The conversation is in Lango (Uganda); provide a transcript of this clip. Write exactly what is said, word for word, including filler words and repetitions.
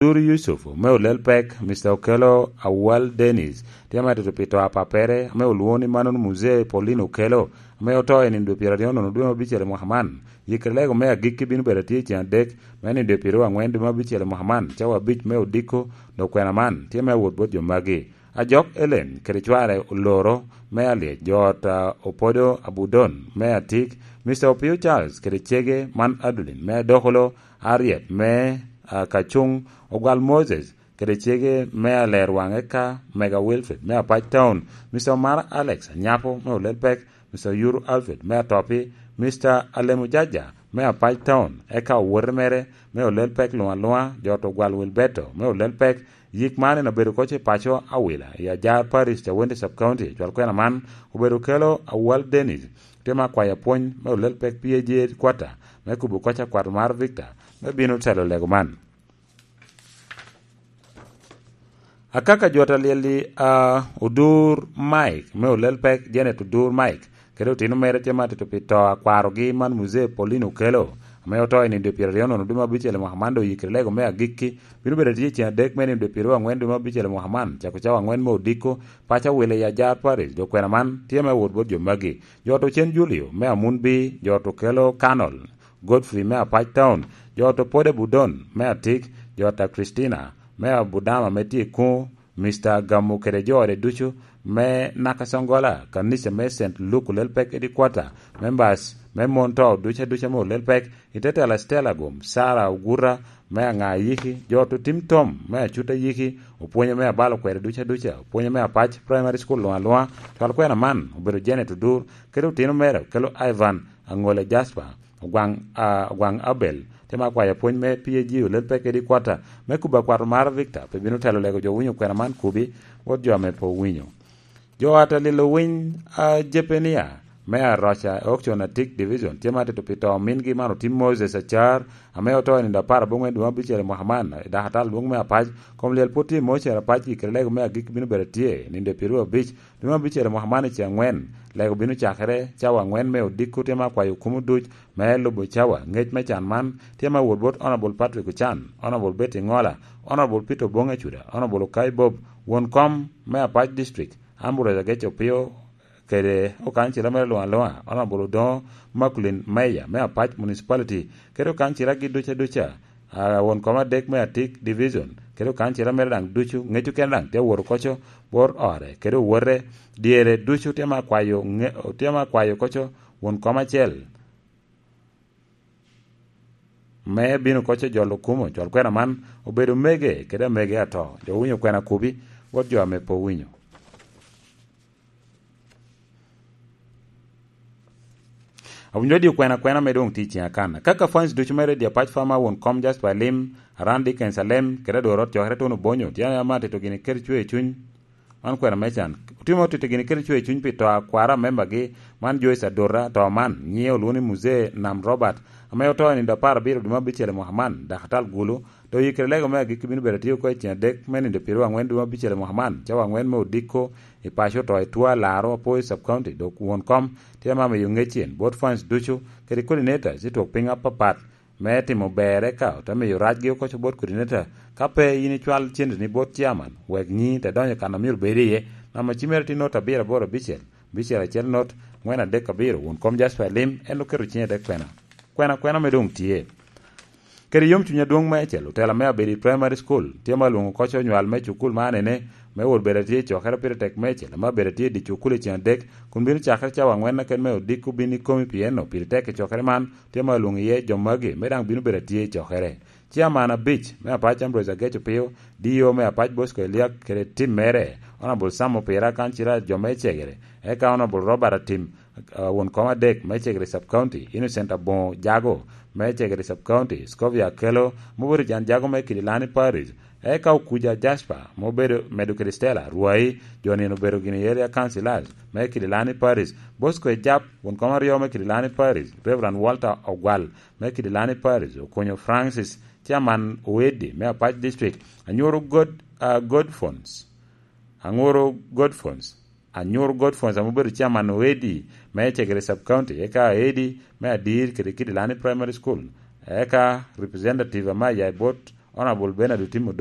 Duru Yusuf, me Olel Pek, Mister Okello Awal Dennis, tye ma tito pi to a pappere, ame olwoŋo ni Manon Muzee Pauline Okello, ame oto i nino dwe pyeraryo nono dwe me abicel i mwaka man. Yikere lego me agikki bino bedo atye i ceng adek, me nino dwe pyeraryo angwen dwe me abicel i mwaka man, cawa abic me odiko, dok kwena man tye me awot bot jo magi. Ajok Ellen kede cware oloro me Alyec, jo ot a Opodo Abudon me Atik, Mister Opio Charles kede cege man Adeline me Adokolo, Ariet me, ah, Kacuŋ, Ogwal Moses kede cege me Alerwaŋ, eka Mega Wilfred me Apac Town, Mister Omara Alex Anyapo me Olel Pek, Mister Yuru Alfred me Atopi, Mister Alemo Jaja me Apac Town, eka owote mere me Olel Pek luŋ aluŋa, jo ot Ogwal Wilberto me Olel Pek. Yik man en obedo koc i paco Awila i Ajar Parish, Cawende Sub County. Cwal kwena man obedo Okello Awal Dennis, tye ma kwayo apwony me Olel Pek P A G headquarter me kubo koc akwat Omar Victor me bino telo lego man. Akaka jo ta lyel-li, a, Odur Mike, me Olel Pek, Janet Odur Mike, kede otino mere tye ma tito pi to a kwarogi man Muzee Pauline Okello, ame oto i nino dwe pyeraryo nono dwe me abicel i mwaka man, dok oyikere lego me agikki, bino bedo atye i ceng adek me nino dwe pyeraryo angwen dwe me abicel i mwaka man, cako cawa angwen me odiko, paco Awila i Ajar Parish, dok kwena man tye me wot bot jo magi. Jo ot Ocen Julio, me Amunbi, jo ot Okello Kanol, Godfrey me Apac Town, jo ot Opode Budon me Atik, jo ot a Christina me Abudama me tye i Kuŋ, Mister Gamo kede jo ode ducu me Nakasongola, kanica me Saint Luke Olel Pek Headquarter, members me mon to ducu aduca me Olel Pek, i te tela Stella Gum, Sarah Oguta me Aŋa Ayiki, jo ot Otim Tom me Acut Ayiki, opwonye me Abalo Kwede ducu aduca, opwonye me Apac Primary School luŋ aluŋa. Cwal kwena man obedo Janet Odur, kede otino mere Okello Ivan, Aŋole Jasper, Ogwaŋ, a, Ogwaŋ Abel, tye ma kwayo apwony me P A G Olel Pek Headquarter me kubo akwat Omar Victor, pe bino telo lego jo winyo kwena man kubi, bot jo ame pe owinyo. Jo ot a lilo winy a Jepenia me Aroca, Aukcion Atik Division, tye ma tito pi to omingi man Otim Moses Acar, ame oto i nino apar aboŋwen dwe me abicel i mwaka man, i dakatal adwoŋ me Apac. Kom lyel pwod tye i Mocer Apac, yikere lego me agikki bino bedo atye i nino dwe pyeraryo abic dwe me abicel i mwaka man i ceng angwen. Lego bino cakere cawa angwen me odiko, tye ma kwayo kumo duc me lubo cawa. Ngec me can man tye ma wot bot Honorable Patrick Ocan, Honorable Betty Ŋola, Honorable Peter Oboŋ Acuda, Honorable Okai Bob, won kom me Apac District, Ambrose Agec Opio, kede okancila mere luŋ aluŋa, Honorable Odoŋo Makulin Meya me Apac Municipality, kede okancilagi duca duca, a, won kom adek me Atik Division, kede okancila mere daŋ ducu, ŋeco kene daŋ tye wot okoco bot ore, kede owote dyere ducu tye ma kwayo ŋe-, tye ma kwayo koco won kom acel me bino koco jolo kumo. Cwal kwena man obedo mege kede amege ato. Jo owinyo kwena kubi, bot jo ame pe owinyo. Awinyo di kwena kwena me doŋ tye i ceng akan. Kaka fans ducu mere di Apac Farmer, won kom Jasper Alim, Aran Dickens Alem, kede adwor ot cokere Tony Obonyo, tye ama tito gini kede cwer i cuny. Man kwena me can. Otimo tito gini kede cwer i cuny pi to a kwara membagi, man Joyce Adota, to man, nyiŋe olwoŋo ni Muzee Nam Robert, ame oto i nino apar abiro dwe me abicel i mwaka man, dakatal Gulu, to oyikere lego me agikki bino bedo atye oko i ceng adek me nino pyeraryo angwen dwe me abicel i mwaka man, cawa angwen me odiko, i paco to i Tua Laro, Apoyo Sub County, dok won kom tye ma miyo ŋec en bot fans ducu, kede coordinators i twok piny apapat, me timo ber, eka ote miyo racgi okoco bot coordinator, ka pe in icwal cendeni bot chairman, wek nyiŋi te donyo kan a myero bed iye. Namba cimere tye not abiro aboro abicel, abicel acel not, angwen adek abiro, won kom Jasper Lim, en oketo cinge te kwena. Kwena, kwena me doŋ tye. Kede yomcuny adwoŋ meicel, otela me Abedi Primary School tye ma lwoŋo okoco onywal me cukul man ene, me wot bedo atye i cokere pire tek meicel, ame Abedi atye i dye cukul i ceng adek, kun bino cakere cawa angwen aken me odiko bin ikomi pi eno, pire tek i cokere man, tye ma lwoŋo iye jo magi, me daŋ bino bedo atye i cokere. Ciaman abic me Apac Ambrose Agec Opio, D O me Apac Bosco Eliak kede tim mere, Honorable Sam Opira, kancila jo me Cegere, eka Honorable Robert Atim, ah, won kom adek me Cegere Sub County, Innocent Aboŋo Jago me Cegere Sub County, Scovia Akello, Mobori Jan Jago me Kidilani Parish, eka Okuja Jasper, ma obedo medo kede Stella Rwai, jo nino obedo gini area councilors me Kidilani Parish, Bosco Ejap, won kom aryo me Kidilani Parish, Reverend Walter Ogwal me Kidilani Parish, Okonyo Francis, Chairman Owedi me Apac District, Anyoro God, ah, Godfons, Angoro Godfons, Anyoro Godfons ame obedo Chairman Owedi me Cegere Sub County, eka Owedi me Adir kede Kidilani Primary School, eka Representative ame aya i bot Honorable Bernard Otim